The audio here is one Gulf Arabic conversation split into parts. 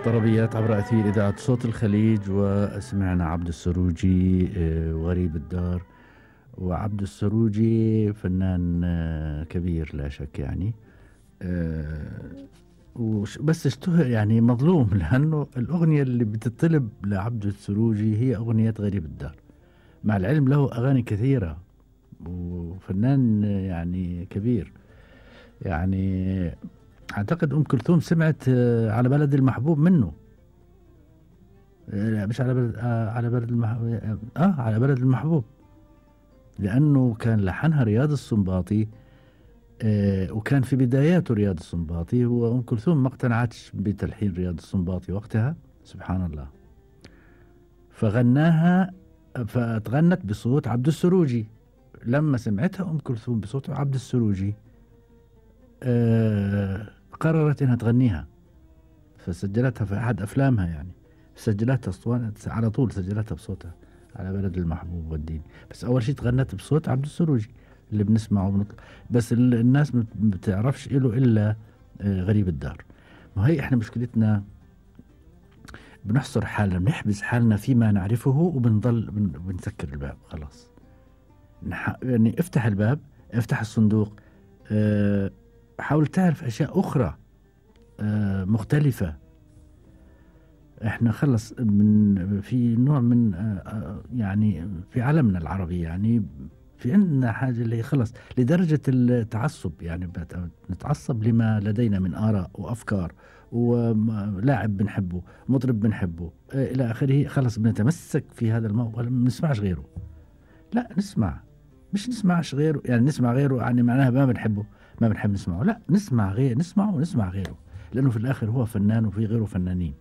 طربيات عبر أثير إذاعة صوت الخليج، وسمعنا عبد السروجي وغريب الدار. وعبد السروجي فنان كبير لا شك يعني، بس اشتهر يعني مظلوم، لأنه الأغنية اللي بتطلب لعبد السروجي هي أغنية غريب الدار، مع العلم له أغاني كثيرة وفنان يعني كبير. يعني أعتقد أم كلثوم سمعت على بلد المحبوب منه. لا مش على بلد، على بلد المحبوب، على بلد المحبوب، لأنه كان لحنها رياض السنباطي. وكان في بداياته رياض السنباطي، وأم كلثوم ما اقتنعتش بتلحين رياض السنباطي وقتها، سبحان الله، فغناها، فتغنت بصوت عبد السروجي. لما سمعتها أم كلثوم بصوت عبد السروجي قررت إنها تغنيها، فسجلتها في أحد أفلامها، يعني سجلتها اسطوانة على طول، سجلتها بصوتها على بلد المحبوب والدين. بس أول شيء تغنت بصوت عبد السروجي اللي بنسمعه وبنطلع، بس الناس ما بتعرفش إله إلا غريب الدار. وهي إحنا مشكلتنا بنحصر حالنا، بنحبس حالنا فيما نعرفه، وبنضل بنسكر الباب خلاص. يعني افتح الباب، افتح الصندوق، حاول تعرف أشياء أخرى مختلفة. احنا خلص في نوع من يعني في عالمنا العربي، يعني في عندنا حاجة اللي خلص لدرجة التعصب، يعني نتعصب لما لدينا من آراء وأفكار، ولاعب بنحبه، مطرب بنحبه إلى آخره، خلص بنتمسك في هذا الموضوع، ما نسمعش غيره. لا نسمع، مش نسمعش غيره يعني نسمع غيره يعني معناها ما بنحبه، ما بنحب نسمعه. لا نسمع غير، نسمعه ونسمع غيره، لأنه في الآخر هو فنان وفي غيره فنانين،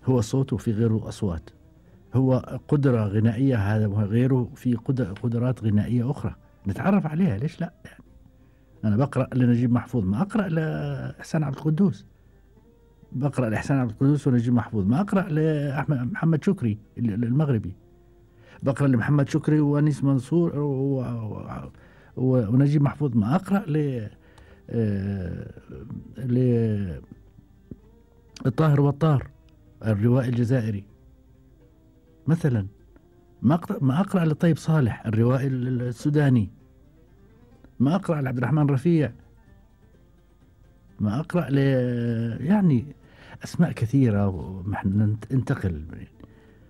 هو صوت وفي غيره أصوات، هو قدرة غنائية هذا وغيره في قدرات غنائية أخرى نتعرف عليها. ليش لا يعني؟ أنا بقرأ لنجيب محفوظ، ما أقرأ لإحسان عبد القدوس. بقرأ لإحسان عبد القدوس ونجيب محفوظ، ما أقرأ لأحمد محمد شكري المغربي. بقرأ لمحمد شكري وأنيس منصور ونجيب محفوظ، ما أقرأ الطاهر والطار الروائي الجزائري مثلا. ما أقرأ لطيب صالح الروائي السوداني، ما أقرأ لعبد الرحمن رفيع، ما أقرأ يعني أسماء كثيرة. ونحن ننتقل